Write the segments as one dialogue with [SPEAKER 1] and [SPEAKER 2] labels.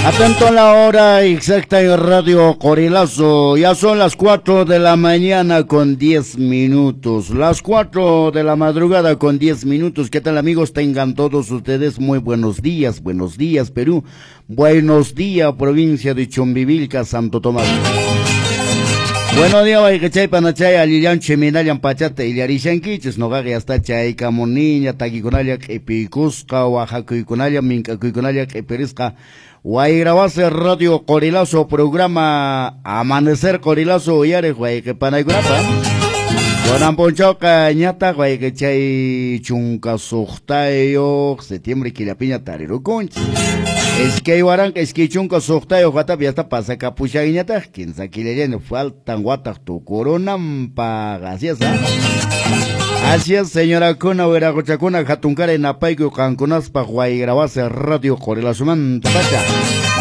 [SPEAKER 1] Atento a la hora exacta en Radio Qorilazo. Ya son las 4 de la mañana con 10 minutos. Las 4 de la madrugada con 10 minutos. ¿Qué tal, amigos? Tengan todos ustedes muy buenos días. Buenos días, Perú. Buenos días, provincia de Chumbivilca, Santo Tomás. Buenos días, wayqichay, panachay, allillanchu imaynallan pachata illarishankichis, noqaqa yasta chaykamuniña, takikunalla q'ipiykusqa, waqakuykunalla, mink'akuykunalla q'ipirisqa, Wayrawasi Radio Qorilazo programa Amanecer Qorilazo uyariq wayqi panaykunata. Kunan p'unchawqa ñataq wayqichay 16 septiembre killapiña tarirukunchis. 2026 watapi yasta pasakapushanñataq, 15 killallaña faltan wataq tukurunanpaq. Así es, ¿ah? Así es, señorakuna, wiraquchakuna, hatunkaray napaykuy qankunaspaq Wayrawasi Radio Qorilazomanta pacha.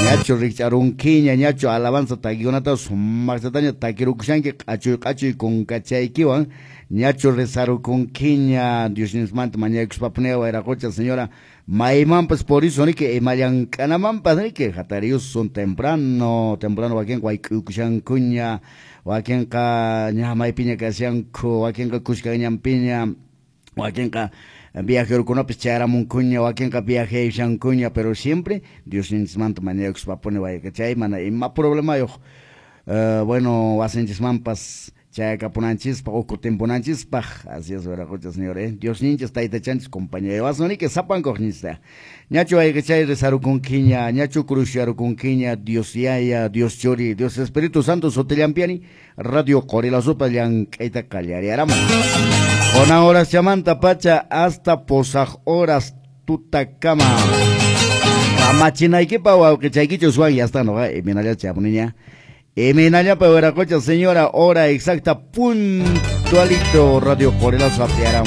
[SPEAKER 1] Ñachu rikch'arunkiña, ñachu alabanza takikunata sumaqllataña takirukushanki q'achuy q'achuy kunkachaykiwan, ñachu rezarukunkiña Diosninchikmanta mañakuspapuni wayraqucha señora, maymanpas por eso niki imallank'anamanpas niki hatariyusun temprano, temprano wakinqa wayk'uykushankuña, wakinqa ña maypiña kashanku, wakinqa kushkanñanpiña, wakinqa viajerokunapis chayaramunkuña, wakinqa viajeashankuña, pero siempre Diosninchikmanta mañakuspapuni wayqichay mana ima problemayuq, bueno, wasinchikmanpas chayakapunanchispaq uku timpunanchispaq. Así es, wiraqucha señor, Diosninchis taytachanchis compañerowasun niki sapankuqninchista. Ñachu wayqichay rezarukunkiña, ñachu cruzyarukunkiña, Dios Yaya, Dios Churi, Dios Espíritu Santo sutillampiani, Radio Qorilazopa llank'ayta qallariaramun. Kunan horas chamanta pacha hasta posaj horas tutakama. Kamachinaykipa wawqichaykichus Juan, ya está, no, imaynalla chamuniña. Imaynallapa wiraqucha señora, hora exacta puntualito Radio Qorilazo apiaran.